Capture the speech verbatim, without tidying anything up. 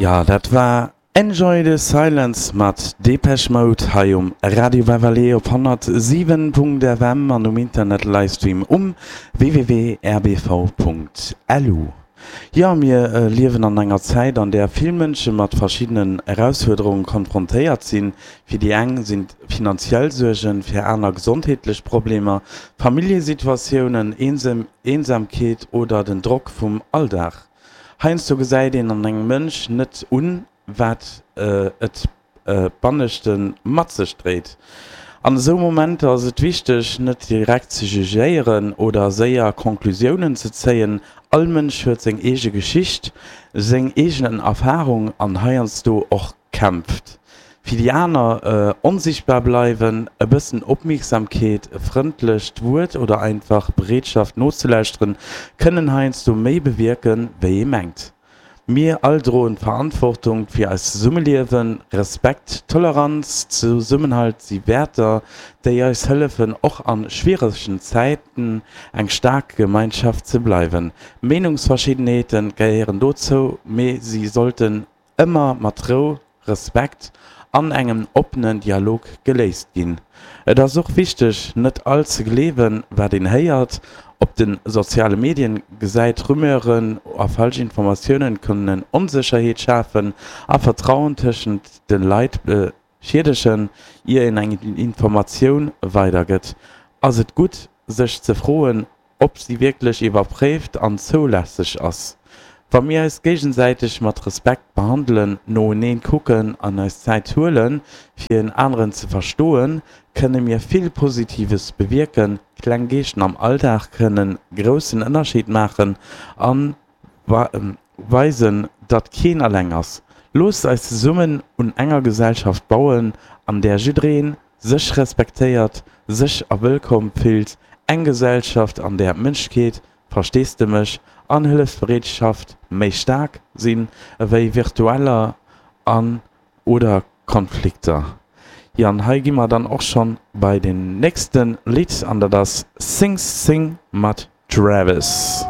Jo, dat war Enjoy the Silence mat Depeche Mode hei um Radio Beverley op honnertsiwen Punkt F M an um Internet Livestream um W W W Punkt R B V Punkt L U. Jo, mir liewen an enger Zäit, an där vill Mënsche mat verschiddenen Erausfuerderunge konfrontéiert sinn. Fir déi eng sinn et finanziell Suergen, fir aner gesondheetlech Problemer, Familljesituatiounen, Eensamkeet oder den Drock vum Alldag. Heiansdo gesäit een an engem Mënsch net un, wat et banneschte mat sech dréit. An esou Momenter ass et wichteg, net direkt ze jugéieren oder séier Conclusiounen ze zéien. All Mënsch huet seng eege Geschicht, seng eegen Erfarung an heiansdo och Kämpft. Fir déi aner onsichtbar bleiwen. E bëssen Opmierksamkeet, e frëndlecht Wuert oder einfach d'Bereetschaft nozelauschteren, kënnen heiansdo méi bewierken, wéi ee mengt. Mir all droen d'Verantwortung fir eist Zesummeliewen. Respekt, Toleranz, Zesummenhalt si Wäerter, déi eis hëllefen, och a schwieregen Zäiten eng staark Gemeinschaft ze bleiwen. Meenungsverschiddenheete gehéieren dozou, mee si sollten ëmmer mat Rou, Respekt an engem oppenen Dialog geléist ginn. Et ass och wichteg, net alles ze gleewen, wat een héiert op de soziale Medien gesäit. Rumeuren a falsch Informatiounen kënnen Onsécherheet schafen a Vertrauen tëschent de Leit beschiedegen. Ier een eng Informatioun weidergëtt, ass et gutt, sech ze froen, ob si wierklech iwwerpréift an zoulässeg ass. Wa mir eis géigesäiteg mat Respekt behandelen, noenee kucken an eis Zäit huelen, fir en aneren ze verstoen, kënne mir vill Positives bewierken. Kleng Geesten am Alldag kënnen e groussen Ënnerscheed maachen a weisen, datt keen eleng ass. Loosst eis zesummen un enger Gesellschaft bauen, an där jidderee sech respektéiert, sécher a wëllkomm fillt, eng Gesellschaft, an där Mënschlechkeet, Versteesdemech an Hëllefsbereetschaft méi staark sinn ewéi Virurteeler an oder Konflikter. Jo, an hei gi mer dann och schonn bei den nächste Lidd, an dat ass Sing Sing mat Travis.